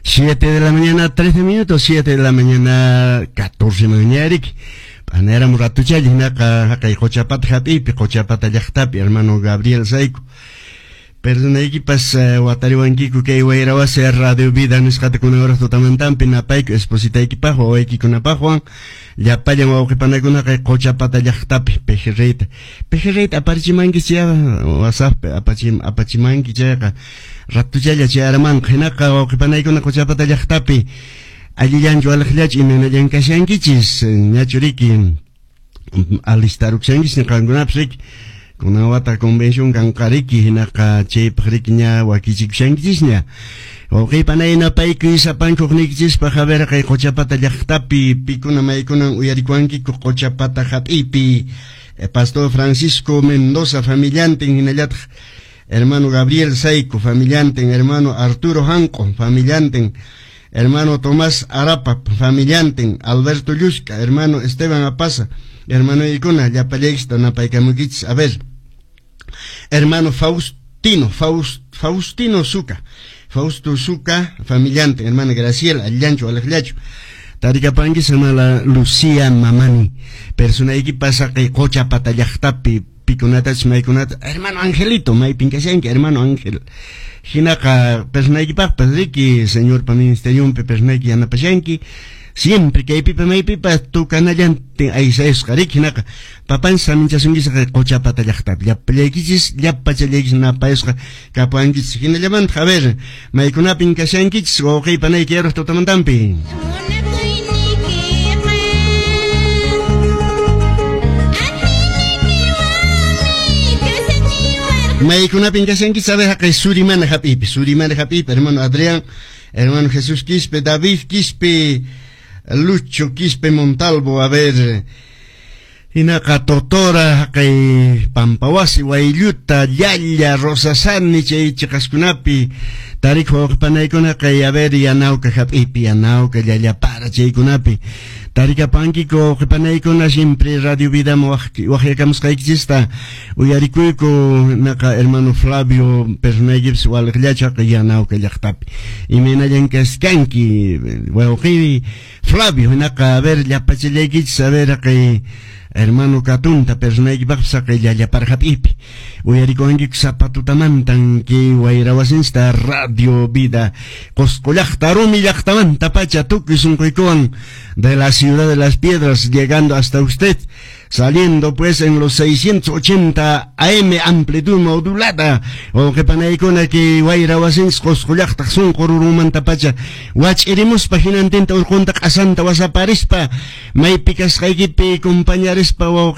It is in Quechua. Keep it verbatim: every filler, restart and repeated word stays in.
Siete de la mañana, trece minutos, siete de la mañana, catorce mañana. P'anayaramu ratuchalla hinaqa haqay Quchapata hap'iypi, Quchapata llaqtapi, hermano Gabriel Sayku. Perdonaykipas uh, watariwankiku kay wayrawasi Radio Vida nisqata kunan horas tutamantampi napayku espositaykipaq wawaykikunapaqwan llapallan wawqipanakunaqa Quchapata llaqtapi pejerreyta pejerreyta aparichimanki chay WhatsApp apachim apachimanki chayqa ratuchalla chayaramanqa hinaqa wawqipanaykuna Quchapata llaqtapi allillanchu aliqllachu imaynallan kashankichis ñachu riki alistaruksankichis qankunapas riki kunan wata convención kanqa riki hinaqa chaypaq riki ña wakichikushankichisña wawqipanay napaykuy sapankuqniykichispaq a ver kay Quchapata llaqtapi pikuna maykunan uyarikuwankiku Quchapata hap'iypi Pastor Francisco Mendoza familiantin hinallataq hermano Gabriel Saico familiantin hermano Arturo Hanco familiantin hermano Tomás Arapa familiantin Alberto Llusca hermano Esteban Apaza hermano ikuna llapallaysta napaykamukichis a ver hermano Faustino Faust, Faustino Zuca Fausto Zuca familiante hermana Graciela Allancho Alejllacho tarikapankis hermana Lucía Mamani personayki pasaqay Quchapata llaqtapi pikunatachis maykunata hermano Angelito maypin kashanki hermano Ángel hinaqa personaykipaqpas riki señorpa ministerionpi personayki yanapashanki siempre kaypipa maypipa tukanallantin aysayusqa riki hinaqa papan saminchasunkichis Quchapata llaqtapi llapallaykichis llapachallaykichis napayusqa kapuankichis hinallamanta a ver maykunapin kashankichis wawqiypanayki yaraq tutamantampi. Maykunapin kashankichis a ver haqay Surimana hap'ipi Surimana hap'ipi hermano Adrián hermano Jesús Quispe David Quispe Lucho Quispe Montalvo a ver hinaqa Totora haqay Pampawasi Waylluta Llalla Rosasani chay chiqaskunapi tarik wawqipanaykuna kay a ver Yanawka hap'ipi Yanawka Llallapara chaykunapi tarikapankiku wawqipanaykuna siempre Radio Vida waqyakamusqaykichista uyarikuyku naqa hermano Flavio personaykipis waliqllachu haqay Yanawka llaqtapi imaynallan kaskanki wawqi Flavio hinaqa a ver llapachallaykichis a ver haqay hermano Katunta personaykipaqpis haqay Llallapara hap'ipi uyarikuwankiku sapatutamantan kay wayrawasinchista Radio Vida Qosqo llaqta rumi llaqtamanta pacha tukuy sunquykuwan de la ciudad de las piedras llegando hasta usted saliendo pues en los seiscientos ochenta A M amplitud modulada wawqipanaykuna kay wayrawasinchis Qosqo llaqtaq sunqu rurunmanta pacha wach'irimuspa hinantinta urqunta q'asanta wasaparispa maypi kasqaykipi compañarispa wawqi